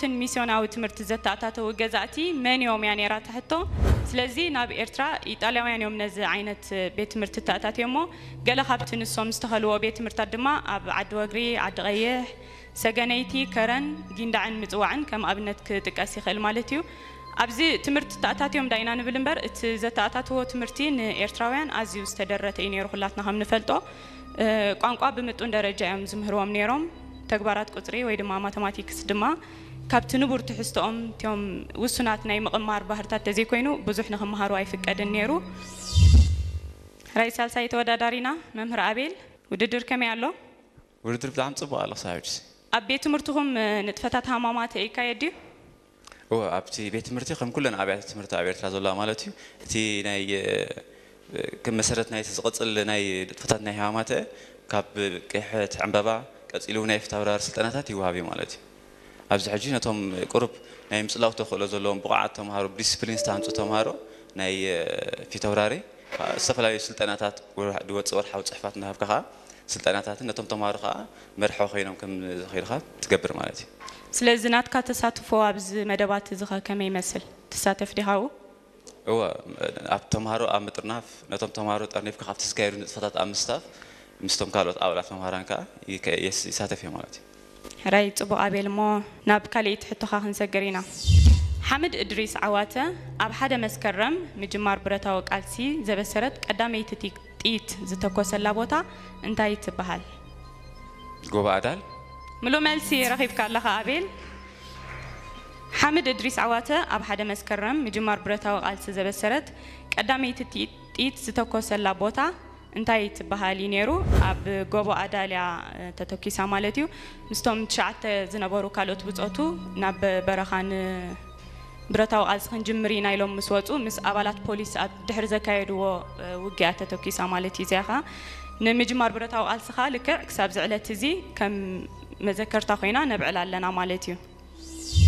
ትን ሚስዮናዊ ትምህርቲ ዘተኣታተዉ ገዛእቲ መን እዮም እያ ነይራ ትሕቶ። ስለዚ ናብ ኤርትራ ኢጣልያውያን እዮም ነዚ ዓይነት ቤት ትምህርቲ ተኣታትዮ እሞ፣ ገለ ካብቲ ንሶም ዝተኸልዎ ቤት ትምህርታት ድማ ኣብ ዓዲ ወግሪ፣ ዓዲ ቀይሕ፣ ሰገነይቲ፣ ከረን፣ ጊንዳዕን ምጽዋዕን ከም ኣብነት ክጥቀስ ይኽእል ማለት እዩ። ኣብዚ ትምህርቲ ተኣታትዮም ዳይና ንብል እምበር፣ እቲ ዘተኣታትዎ ትምህርቲ ንኤርትራውያን ኣዝዩ ዝተደረተ እዩ ነይሩ። ኩላትና ከም ንፈልጦ፣ እ፣ ቋንቋ ብምጡን ደረጃ እዮም ዝምህርዎም ነይሮም። ተግባራት ቁጽሪ ወይ ድማ ማተማቲክስ ድማ ካብቲ ንቡር ትሕዝቶኦም እቲኦም ውሱናት ናይ ምቕማር ባህርታት ተዘይኮይኑ ብዙሕ ንኽመሃሩ ኣይፍቀድን ነይሩ። ራይ ሳልሳይ ተወዳዳሪና መምህር ኣቤል፣ ውድድር ከመይ ኣሎ? ውድድር ብጣዕሚ ጽቡቕ ኣሎ ክሳብ ሕጂ። ኣብ ቤት ትምህርትኹም፣ እ፣ ንጥፈታት ሃማማተ ይካየድ ድዩ? እወ፣ ኣብቲ ቤት ትምህርቲ ከም ኩለን ኣብያተ ትምህርቲ ኣብ ኤርትራ ዘለዋ ማለት እዩ፣ እቲ ናይ፣ እ፣ ከም መሰረት ናይቲ ዝቕጽል ናይ ንጥፈታት ናይ ሃማማተ ካብ ቅሕት ዕምበባ ቀጺሉ እውን ናይ ፊታውራሪ ስልጠናታት ይወሃብ እዩ ማለት እዩ። ኣብዚ ሕጂ ነቶም ቁሩብ ናይ ምጽላው ተኽእሎ ዘለዎም ብቑዓት ተምሃሮ፣ ብዲስፕሊን ዝተሃንጹ ተምሃሮ ናይ፣ እ፣ ፊታውራሪ ዝተፈላለዩ ስልጠናታት ወርሕ-፣ ዝወጽእ ወርሓዊ ጽሑፋት እናሃብካ ኸኣ ስልጠናታትን ነቶም ተምሃሮ ኸኣ መርሖ ኮይኖም ከም ዝኸይዱ ኸኣ ትገብር ማለት እዩ። ስለዚ ናትካ ተሳትፎ ኣብዚ መደባት እዚ ኸ ከመይ ይመስል? ትሳተፍ ዲኻ ኣብኡ? እወ፣ ኣብ ተምሃሮ ኣብ ምጥርናፍ፣ ነቶም ተምሃሮ ጠርኒፍካ ካብቲ ዝካየዱ ንጥፈታት ኣብ ምስታፍ፣ ምስቶም ካልኦት ኣባላት መምሃራን ከኣ ይከ-፣ የስ-፣ ይሳተፍ እየ ማለት እዩ። ሕራይ ጽቡቕ ኣቤል፣ እሞ ናብ ካልኣይቲ ሕቶኻ ክንሰግር ኢና። ሓምድ እድሪስ ዓዋተ ኣብ ሓደ መስከረም ምጅማር ብረታዊ ቃልሲ ዘበሰረት ቀዳመይቲ ቲ-፣ ጥይት ዝተኮሰላ ቦታ እንታይ ትበሃል? ጎባ ኣዳል። ምሉእ መልሲ ረኺብካ ኣለኻ ኣቤል። ሓምድ እድሪስ ዓዋተ ኣብ ሓደ መስከረም ምጅማር ብረታዊ ቃልሲ ዘበሰረት ቀዳመይቲ ቲ-፣ ጥይት ዝተኮሰላ ቦታ እንታይ ትበሃል እዩ ነይሩ? ኣብ ጎቦ ኣዳልያ፣ እ፣ ተተኪሳ ማለት እዩ። ምስቶም ትሽዓተ ዝነበሩ ካልኦት ብጾቱ ናብ በረኻ ንብረታዊ ቃልሲ ክንጅምር ኢና ኢሎም ምስ ወጹ፣ ምስ ኣባላት ፖሊስ ኣብ ድሕሪ ዘካየድዎ፣ እ፣ ውግኣ ተተኪሳ ማለት እዩ። እዚኣ ኸኣ ንምጅማር ብረታዊ ቃልሲ ኸኣ ልክዕ ክሳብ እዚ ዕለት እዚ ከም መዘከርታ ኮይና ነብዕላ ኣለና ማለት እዩ።